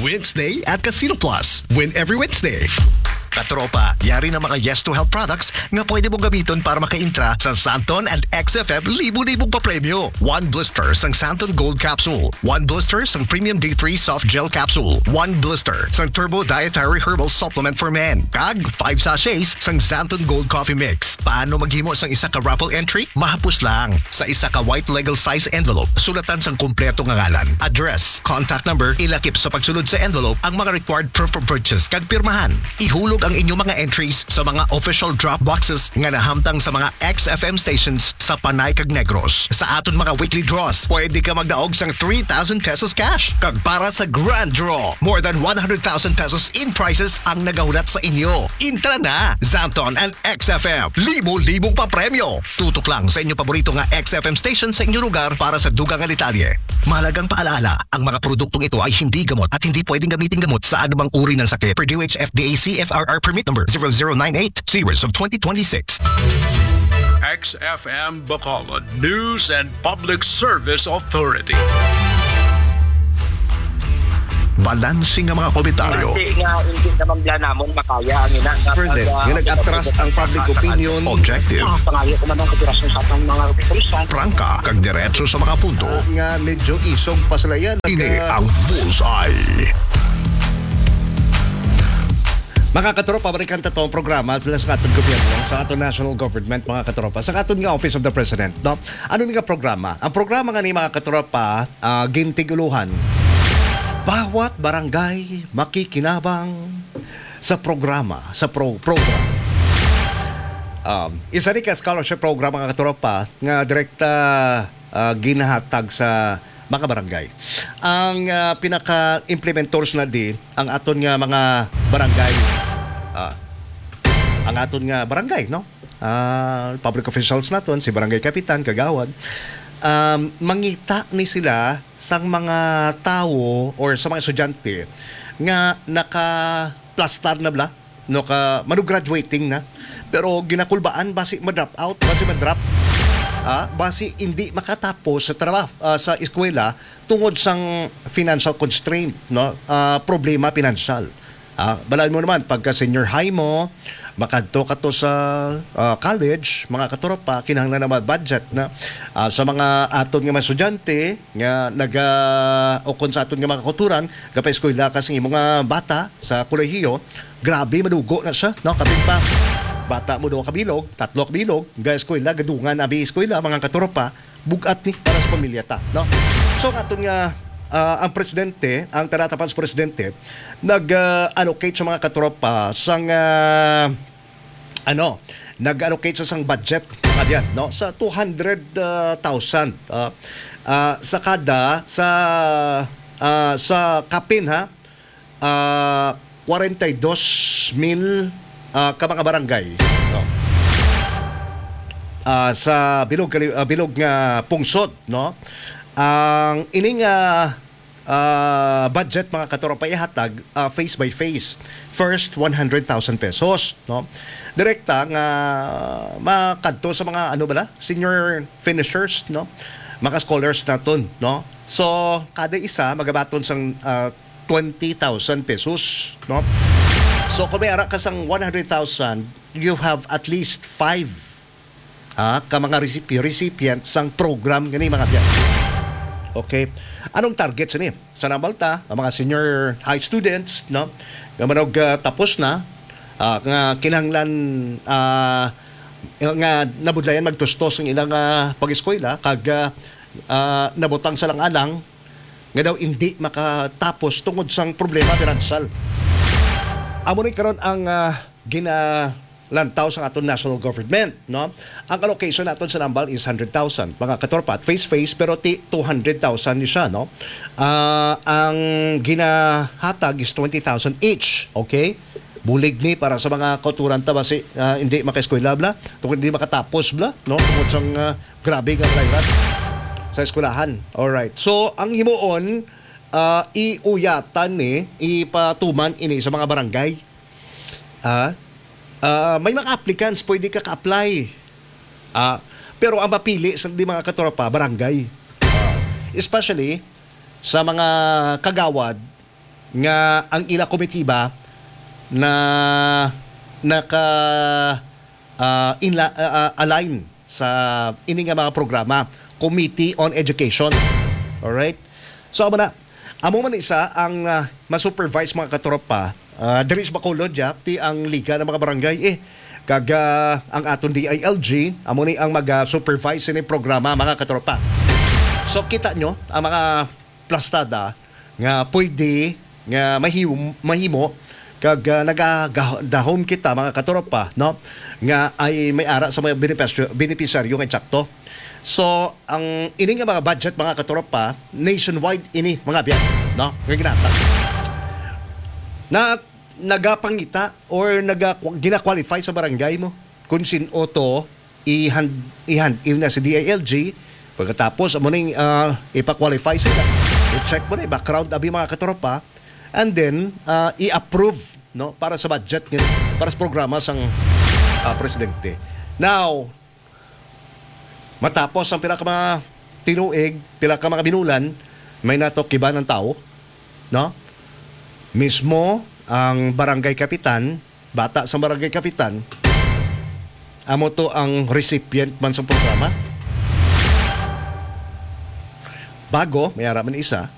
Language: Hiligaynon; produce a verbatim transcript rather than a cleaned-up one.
Wednesday at Casino Plus. Win every Wednesday. Katropa, yari na mga Yes to Help products nga pwede mong gamiton para makaintra sa Santon and X F M libo-libong papremyo. One blister sang Santon Gold Capsule, one blister sang Premium D three Soft Gel Capsule, one blister sang Turbo Dietary Herbal Supplement for Men, kag five sachets sang Santon Gold Coffee Mix. Paano maghimo sang isa ka raffle entry? Mahapos lang. Sa isa ka white legal size envelope, sulatan sang kompleto nga ngalan, address, contact number, ilakip sa pagsulod sa envelope ang mga required proof of purchase kag pirmahan. Ihulog ang inyong mga entries sa mga official drop boxes nga nahamtang sa mga X F M stations sa Panay kag Negros. Sa aton mga weekly draws, pwede ka magdaog sang three thousand pesos cash. Kag para sa grand draw, more than one hundred thousand pesos in prizes ang nagahulat sa inyo. Intra na! Santon and X F M, libo-libong papremyo. Tutok lang sa inyo paborito nga X F M station sa inyo lugar para sa dugang nga detalye. Mahalagang paalaala, ang mga produktong ito ay hindi gamot at hindi pwedeng gamitin gamot sa anumang uri ng sakit. Per D O H F D A C F R R Permit Number zero zero nine eight, Series of twenty twenty-six. X F M Bacolod News and Public Service Authority. Balanse nga mga komentaryo. Base nga hindi naman bala namon makaya ang ina nga Further, pag, ah, nga nag-atras ang public opinion. Objective. Ah, pangayo ko man ang operasyon sa atong mga kapulisan. Prangka kag diretso sa mga punto. Ah, nga medyo isog pa sila yan. Ini ang Bullseye. Mga katropa, balikan ta to ang programa sa aton gobyerno, sa aton national government, mga katropa, sa aton nga Office of the President, no? Ano ni nga programa? Ang programa nga ni, mga katropa, ah, gintiguluhan, bawat barangay makikinabang sa programa, sa pro-, program. Um, isa ni ka scholarship program, mga katropa, nga direkta, ah, ginahatag sa mga barangay. Ang, ah, pinaka-implementors na di ang aton nga mga barangay. Ah, ang aton nga barangay, no? Ah, public officials naton, si barangay kapitan, kagawad, um, mangita ni sila sang mga tawo or sa mga estudyante nga nakaplastar na bala, no, ka, mano graduating na, pero ginakulbaan basi ma-drop out, basi ma-drop, ah, basi hindi makatapos sa trabaho, ah, sa eskwela tungod sang financial constraint, no? Ah, problema pinansyal. Ah, balaod mo naman, pagka senior high mo, makadto ka to sa, ah, college, mga katropa, kinahanglan naman budget na. Ah, sa mga aton nga mga estudyante nga naga-, o kung sa aton nga mga kauturan, gapa-eskwela ka sa imong, ah, bata sa kolehiyo, grabe, madugo na siya, no? Kapin pa, bata mo, duha ka bilog, tatlo ka bilog, ga-eskwela, gadungan, abi eskwela, mga katropa, bugat ni para sa pamilya ta, no? So, ang aton nga, ah, ang presidente, ang Tara Tapan sa presidente, nag, ah, allocate sa mga katropa sang, ah, ano, nag-allocate sa sang budget, mga biyan, no? Sa two hundred thousand, ah, ah, sa kada, sa, ah, sa kapin, ha? Ah, kwarenta y dos mil, ah, ka mga barangay, no? Ah, sa bilog kali-, ah, bilog nga pungsod, no? Ang ining, ah, ah, budget, mga katropa, ihatag, ah, phase by phase. First, one hundred thousand pesos, no? Direkta nga makadto sa mga, ano bala, senior finishers, no? Mga scholars naton, no? So, kada isa magabaton sang, ah, twenty thousand pesos, no? So, kung may ara ka sang one hundred thousand, you have at least five, ah, ka mga recipient, recipient sang program gani, mga biyan. Okay. Anong target sini? Sa nambal ta, ang mga senior high students, no? Nga manog, ah, tapos na, ah, nga kinahanglan, ah, nga nabudlayan magtustos ang ilang, ah, pag-eskwela, kag, ah, ah, nabutang sa lang-alang, nga daw indi makatapos tungod sang problema pinansyal. Amo ni karon ang, ah, ginalantaw sa aton national government, no? Ang allocation naton sa nambal is hundred thousand, mga katropa, at phase-phase, pero ti two hundred thousand ni siya, no? Ah, ang ginahatag is twenty thousand each, okay? Bulig ni para sa mga kauturan ta basi, ah, hindi makaeskwela bla, tungod hindi makatapos bla, no? Tungod sang, ah, grabe nga balay rat sa eskwelahan. Alright. So, ang himuon, ah, iuyatan ni, ipatuman ini sa mga barangay. Ah, ah, may mga applicants, pwede ka ka-apply. Ah, pero ang mapili sa di mga katropa, barangay. Ah, especially sa mga kagawad nga ang ila komitiba na naka, ah, inla-, ah, ah, align sa ini nga mga programa, Committee on Education. Alright? So, amo na. Amo man isa ang, ah, ma-supervise, mga katropa. Ah, diri sa Bacolod, ya, ti ang Liga ng mga Barangay, eh, kag, ah, ang aton D I L G, amo ni ang mag-, ah, supervise sini programa, mga katropa. So, kita nyo, ang mga plastada nga pwede nga mahim-, mahimo kag, ah, nagadahom kita, mga katropa, no, nga ay may ara sa mga benepisyo-, benepisyaryo nga eksakto. So, ang ini nga mga budget, mga katropa, nationwide ini, mga biyan, no, nga ginata na nagapangita or naga-, gina-qualify sa barangay mo kung sin-o to i-hand, i-hand in na si D I L G. Pagkatapos, amo ning, ah, ipa-qualify sila. I-check mo na yung background, abi, mga katropa. And then, ah, i-approve, no, para sa budget, nga, para sa programa sang, ah, presidente. Now, matapos ang pila ka mga tinuig, pila ka mga binulan, may natukiban ang tao, no? Mismo ang barangay kapitan, bata sa barangay kapitan, amo to ang recipient man sa programa. Bago, may ara man isa,